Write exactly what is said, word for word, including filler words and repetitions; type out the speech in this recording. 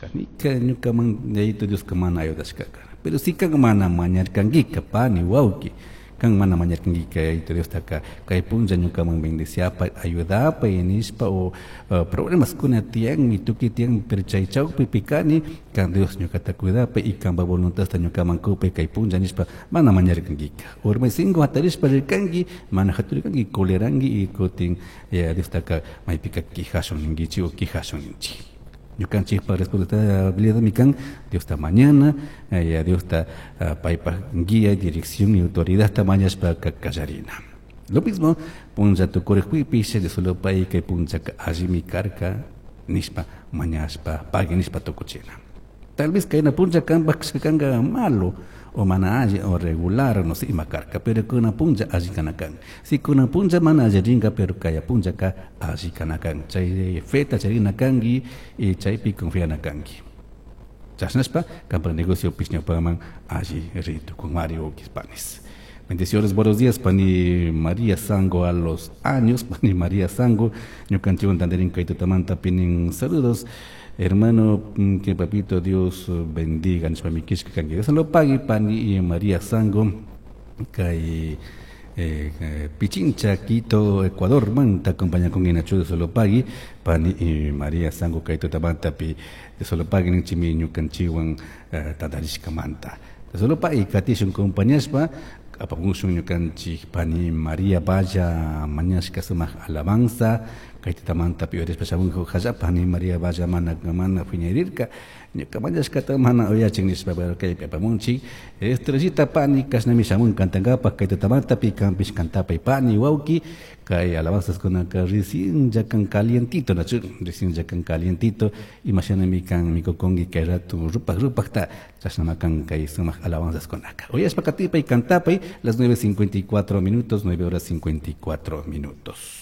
Ayudashkanika ñukaman Yayito Dioska mana ayudashkaka. Pero si kan mana mañarkankika pani wawki, kan mana mañarkankika Yayito Diostaka kay punlla ñukaman bendiciapay, ayudapay nishpa o uh, problemas kuna tiyanmi, tukuy tiyan, pero chay chawpipi kani, kan Dios ñukata cuidapay y kanpa voluntadta ñukaman kupay kay punlla nishpa mana mañarkankika. Urmaysingu hatarishpa rirkanki, mana haturirkanki, coleranki y kutin Yaya Diostaka maypika quejashun ninkichik o quejashun ninchik. Ñukanchikpa responsabilidadmi kan Diosta mañana, Yaya Diosta uh, paypaj guía, dirección y autoridadta mañashpa kallarina. Lo mismo, punlla tukurikpipish, Diosolopay kay punllaka allimi karka nishpa mañashpa, pagui nishpa tukuchina. Tal vez kayna punlla kanpaj kanka malo o mana alli o regular, no sé, ima karka, pero kuna punlla alli kana kan. Si kuna punlla mana alli rinka, pero kaya punllaka alli kana kan. Chay feta charina kanki y chaypi confiana kanki. Chashnashpa, kanpa negocio ñawpaman alli ritu con Mario Panis. Bendiciones, buenos días, Pani María Sango a los años, Pani María Sango, ñukanchikwan tantarin kay tutamanta pinin saludos. Hermano, que papito Dios bendiga, nishpa mikishka kanki. Dios lo pague, Pani María Sango, kay eh, eh, Pichincha, Quito, Ecuador, manta acompaña con Inachu de solo pagui, Pani y María Sango kay tutamanta pi de solo pagui ninchimi ñukanchikwan eh, tantarishka manta. De solo pagui katishun compañashpa, apamushun ñukanchik Pani María Valla mañashka sumaq alabanza, kay tutamanta pi uyarishpa shamunku halla Pani María Valla mana mana phiñarirka, ñuka mañashkata mana uyachin nishpa, pero kaypi apamunchik. Estrellita Pani kashnami shamun kantankapaj kay tutamanta pi kanpish kantapay Pani wawki, kay alabanzas kunaka recién ya kan calientito, nachu, recién ya kan calientito, imashanami kan mikukunki kay rato rupaj rupajta, chashnama kan kay sumaq alabanzas kunaka. Uyashpa katipay kantapay, las nueve cincuenta y cuatro minutos, nueve horas cincuenta y cuatro minutos.